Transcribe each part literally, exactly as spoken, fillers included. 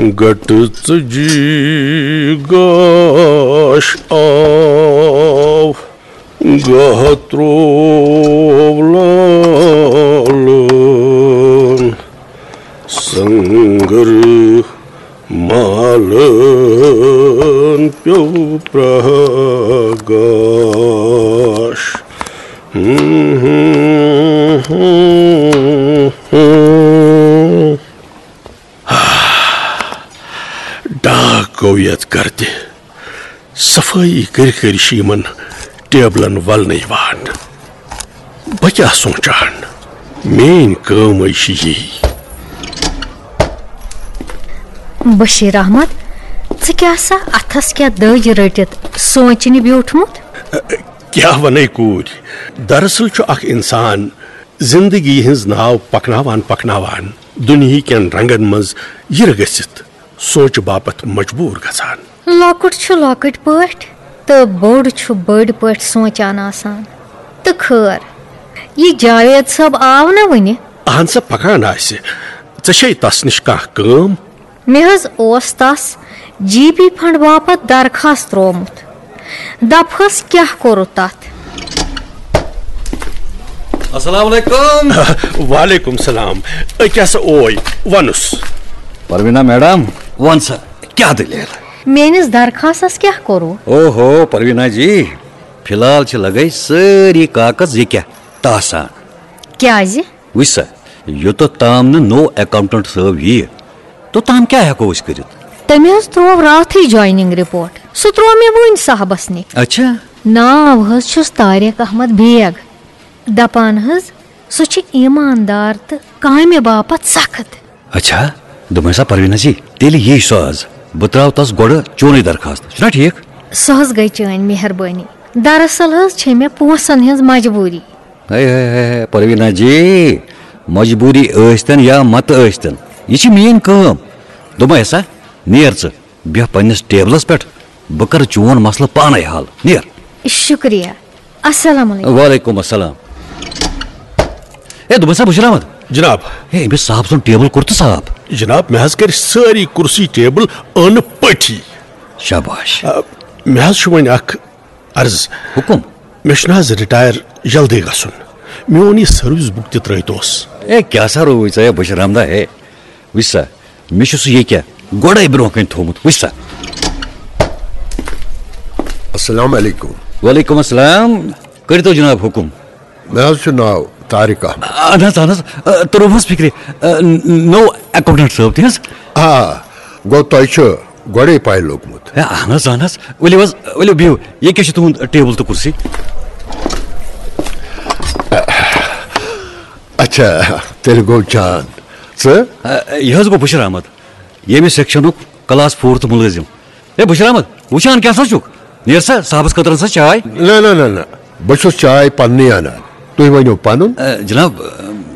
گٹہٕ ژٕجی گاش آو، گاہ ترٛوو لالن، سنگر مالن پیوٚو پرٛاہ گاش۔ ڈاکھ گوٚو یتھ گردِ۔ صفٲیی کٔرۍ کٔرۍ چھِ یِمن ٹیبلن ولنہٕ یِوان۔ بہٕ کیٛاہ سونٛچان؟ میٛٲنۍ کٲمٕے چھِ یی۔ بشیر احمد، ژٕ کیٛاہ سا اتھس کیٛاہ دٔج رٔٹِتھ سونٛچنہِ بیوٗٹھمُت؟ کیٛاہ ونے کوٗرۍ؟ دراصل چھُ اکھ انسان زندگی ہٕنٛز ناو پکناوان پکناوان دُنیہکٮ۪ن رنگن منٛز یِرٕ گٔژھِتھ سونچہِ باپتھ مجبوٗر گژھان۔ لۄکُٹ چھُ لۄکٕٹۍ پٲٹھۍ تہٕ بوٚڑ چھُ بٔڑۍ پٲٹھۍ سونچان آسان۔ تہٕ خٲر، یہِ جاوید صٲب آو نہ وُنہِ؟ اہن سا، پکان آسہِ۔ ژےٚ چھے تس نِش کانٛہہ کٲم؟ مےٚ حظ اوس تس جی پی فنڈ باپتھ درخواست ترٛوومُت۔ دپہس کیٛاہ کوٚرُتھ تتھ؟ السلام علیکم۔ وعلیکم السلام۔ أکیٛاہ سا اوے، ونُس۔ پروینا میڈم، ون سا، کیٛاہ دٔلیٖل؟ میٲنِس درخواستس کیٛاہ کوٚروٕ؟ اوہو، پروینا جی، فی الحال چھِ لگے سٲری کاغذ یہِ کیٛاہ تاسان۔ کیٛازِ؟ وٕچھ سا، یوٚتتھ تام نہٕ نوٚو اکاؤنٹنٹ صٲب یِیہِ، توٚتام کیٛاہ ہٮ۪کو أسۍ کٔرِتھ؟ تٔمۍ حظ ترٛوو راتھٕے جویننگ رپورٹ۔ سُہ ترٛوو مےٚ وٕنۍ صاحبس نِش۔ اچھا۔ ناو حظ چھُس طارق احمد بیگ۔ دپان حظ، سُہ چھُ ایماندار تہٕ کامہِ باپتھ سخت۔ اچھا، دوٚپمَے سا پروینا جی، تیٚلہِ یی سُہ آز۔ بہٕ ترٛاوٕ تَس گۄڈٕ چونُے درخاست۔ چھُنا ٹھیٖک؟ سۄ حظ گٔے چٲنۍ مہربٲنی۔ دراصل حظ چھے مےٚ پونٛسن ہٕنٛز مجبوٗری۔ ہے، ہے، ہے، ہے، پروینا جی، مجبوٗری ٲسۍتن یا مت ٲسۍتن، یہِ چھِ میٛٲنۍ کٲم۔ دوٚپمَے سا، نیر ژٕ، بیٚہہ پننِس ٹیبلس پٮ۪ٹھ، بہٕ کرٕ چون مسلہٕ پانے حل۔ نیر۔ شُکریہ۔ السلام علیکم۔ وعلیکم السلام۔ ہے، دوٚپمَے سا بشیر احمد۔ جناب۔ ہے، أمِس صاحب سُنٛد ٹیبل کوٚر تہٕ صاف۔ جناب، مےٚ حظ کٔرۍ سٲری کُرسی ٹیبل أنٛدۍ پٔٹھی۔ شاباش۔ آ، مےٚ حظ چھُ وۄنۍ اکھ عرض۔ حُکُم۔ مےٚ چھُنہٕ حظ رِٹایر جلدی گژھُن۔ میون یہِ سٔروِس بُک تہِ ترٛٲوتوس۔ ہے، کیٛاہ سا رووُے ژےٚ، ہے بشیر احمدا، ہے؟ وٕچھ سا، مےٚ چھُ سُہ ییٚکیٛاہ گۄڈَے برونٛہہ کَنہِ تھوٚومُت، وٕچھ سا۔ السلام علیکم۔ وعلیکم السلام۔ کٔرۍتو جناب حُکُم۔ مےٚ حظ چھُ ناو طارق احمد۔ اہن حظ، اہن حظ، آ، توٚرُم حظ فِکرِ، آ، ن-، نوٚو اکاؤنٹنٹ صٲب تہِ حظ۔ آ، گوٚو تۄہہِ چھُ گۄڈَے پَے لوٚگمُت۔ ہے، اہن حظ، اہن حظ۔ ؤلِو حظ، ؤلِو بِہِو۔ ییٚکیٛاہ چھُ تُہُنٛد ٹیبل تہٕ کُرسی۔ اچھا، تیٚلہِ گوٚو جان۔ ژٕ؟ آ، یہِ حظ گوٚو بشیر احمد، ییٚمہِ سیکشنُک کلاس فورتھ مُلٲزِم۔ ہے بشیر احمد، وٕچھان کیٛاہ سا چھُکھ؟ نیر سا، صاحبس خٲطرٕ اَن سا چاے۔ نہ، نہ، نہ، نہ، بہٕ چھُس چاے پننی انان۔ تُہۍ ؤنِو پنُن۔ آ، جناب، آ،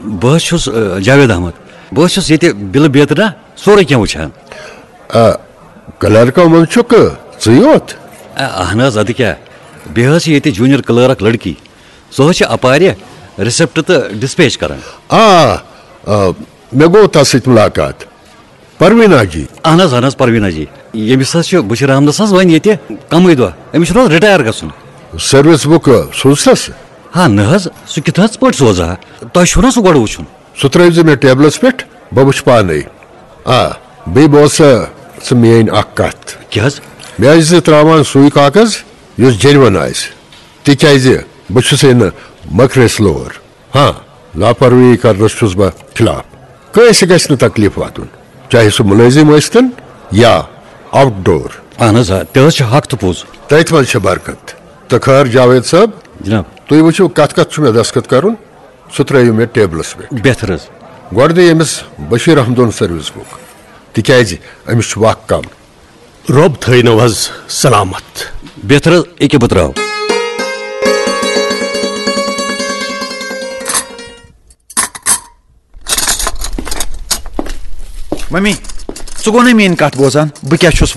بہٕ حظ چھُس، آ، جاوید احمد۔ بہٕ حظ چھُس ییٚتہِ بِلہٕ بیترِ نا سورُے کینٛہہ وٕچھان۔ آ، کلرکو منٛز چھُکھ ژٕے یوت؟ آ، اہن حظ، ادٕ کیٛاہ؟ بیٚیہِ حظ چھِ ییٚتہِ جوٗنیر کلرک لڑکی۔ سۄ حظ چھِ اپارِ ریسپٹ تہٕ ڈسپیچ کران۔ آ، آ، مےٚ گوٚو تَس سۭتۍ مُلاقات۔ پروینا جی۔ اہن حظ، اہن حظ، پروینا جی۔ ییٚمِس حظ چھُ بشیر احمدس حظ وۄنۍ ییٚتہِ کمٕے دۄہ۔ أمِس چھُنہٕ حظ رِٹایر گژھُن؟ سٔروِس بُک سوٗزتھس؟ ہا، نہ حظ، سُہ کِتھ حظ پٲٹھۍ سوزٕ ہا؟ تۄہہِ چھُو نا سُہ گۄڈٕ وٕچھُن؟ سُہ ترٛٲوزِ مےٚ ٹیبلس پٮ۪ٹھ، بہٕ وٕچھٕ پانے۔ آ، بیٚیہِ بوز سا ژٕ میٲنۍ اکھ کتھ۔ کیٛاہ حظ؟ مےٚ ٲسۍ زِ ترٛاوان سُے کاغذ یُس جینون آسہِ، تِکیازِ بہٕ چھُسے نہٕ مٔکرِس لور۔ ہاں، لاپروٲہی کرنس چھُس بہٕ خلاف۔ کٲنٛسہِ گژھِ نہٕ تکلیف واتُن، چاہے سُہ مُلٲزِم ٲسۍتن یا آوٹ ڈور۔ اہن حظ، آ، تہِ حظ چھُ حق تہٕ پوٚز۔ تٔتھۍ منٛز چھِ برکت۔ تہٕ خٲر جاوید صٲب، جناب۔ تُہۍ وٕچھِو کتھ کتھ چھُ مےٚ دستخط کرُن، سُہ ترٲیِو مےٚ ٹیبلس پٮ۪ٹھ۔ بہتر حظ۔ گۄڈٕ دِ ییٚمِس بشیر احمدُن سٔروِس بُک، تِکیازِ أمِس چھُ وق کم۔ رۄب تھٲینو حظ سلامت۔ بہتر حظ، ییٚکیٛاہ بہٕ ترٛاوٕ۔ ممی، ژٕ گوٚو نہ میٛٲنۍ کتھ بوزان؟ بہٕ کیٛاہ چھُس